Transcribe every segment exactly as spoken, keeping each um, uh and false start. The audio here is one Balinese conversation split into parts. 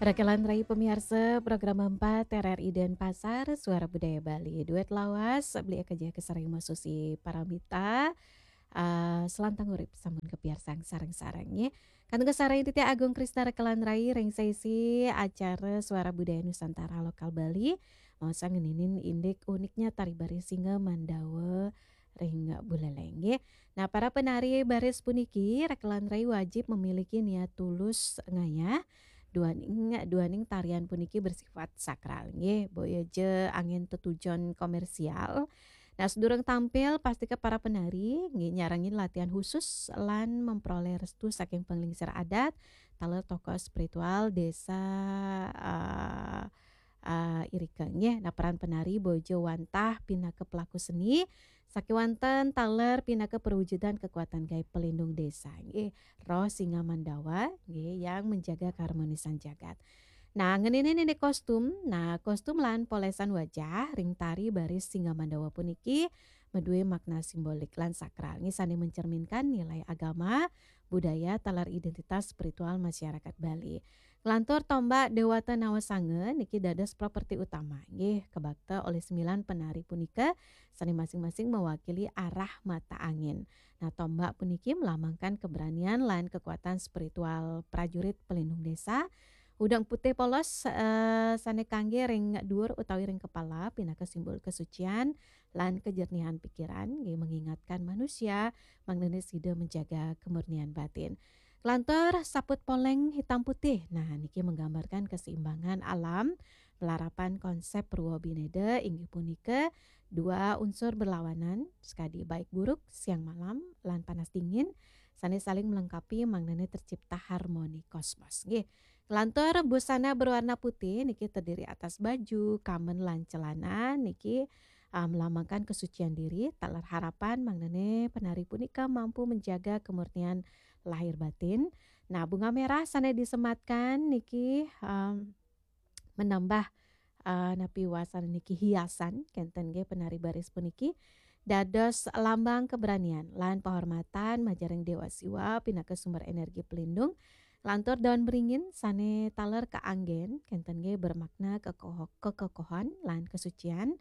Rakelan rai pamiarsa program empat R R I Denpasar, Suara Budaya Bali. Duet lawas, beli eka jaya kesareng masusi paramita, eh, selantang urip sampun kapiarsang sareng-sareng, nggih. Kantun kesareng titiang Agung Krisna Rakelan rai ring sesi acara Suara Budaya Nusantara Lokal Bali. Maos ngeninin indik uniknya tari baris Singa Mandawa ring Buleleng, nggih. Nah, para penari baris puniki, Rakelan rai wajib memiliki niat tulus ngayah, duaning, duaning tarian puniki bersifat sakral, nggih. Boya ja angin tetujon komersial. Nah, sedurung tampil, pastika para penari, nggih, nyarengin latihan khusus lan memperoleh restu saking penglingsir adat, taler tokoh spiritual desa, eh, eh, irika, nggih. Nah, peran penari boya ja wantah pinaka pelaku seni, sakewanten taler pinaka perwujudan kekuatan gaib pelindung desa, nggih. Roh Singa Mandawa, nggih, yang menjaga keharmonisan jagat. Nah, ngeninin indik kostum, nah, kostum lan polesan wajah ring tari baris Singa Mandawa puniki madue makna simbolik lan sakral, nggih, sane mencerminkan nilai agama, budaya, taler identitas spiritual masyarakat Bali. Nglantur tombak Dewata Nawasanga niki dados properti utama, nggih, kabakta oleh sembilan penari punika, sane masing-masing mewakili arah mata angin. Nah, tombak puniki melambangkan keberanian lan kekuatan spiritual prajurit pelindung desa. Udeng putih polos, eh, sane kangge ring duur utawi ring kepala pinaka simbol kesucian lan kejernihan pikiran, nggih, mengingatkan manusia mangdane sida menjaga kemurnian batin. Nglantur saput poleng hitam putih. Nah, niki menggambarkan keseimbangan alam, melarapan konsep Purwa Bineda, inggih punika dua unsur berlawanan, sekadi baik buruk, siang malam, lan panas dingin, sane saling melengkapi mangdane tercipta harmoni kosmos. Nggih. Nglantur busana berwarna putih niki terdiri atas baju, kamen, lan celana niki, ah, melambangkan kesucian diri, taler harapan mangdane penari punika mampu menjaga kemurnian lahir batin. Nah, bunga merah sane disematkan niki, em, menambah, eh, napi wasana niki hiasan, kenten nggih penari baris puniki. Dados lambang keberanian lan penghormatan majeng ring Dewa Siwa pinaka sumber energi pelindung. Lantur daun beringin sane taler kaanggen, kenten nggih bermakna kekoho-, kekokohan lan kesucian.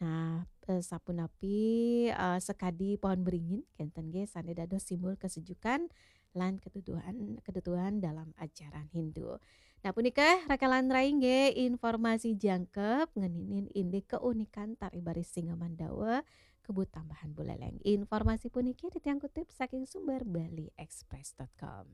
Nah, eh, sapunapi, eh, sekadi pohon beringin, kenten nggih sane dados simbol kesejukan lan keteduhan, keteduhan dalam ajaran Hindu. Nah, punika Rakelan rai nggih informasi jangkep ngeninin indik keunikan tari baris Singa Mandawa, Kebut Tambahan Buleleng. Informasi puniki titiang kutip saking sumber bali express dot com.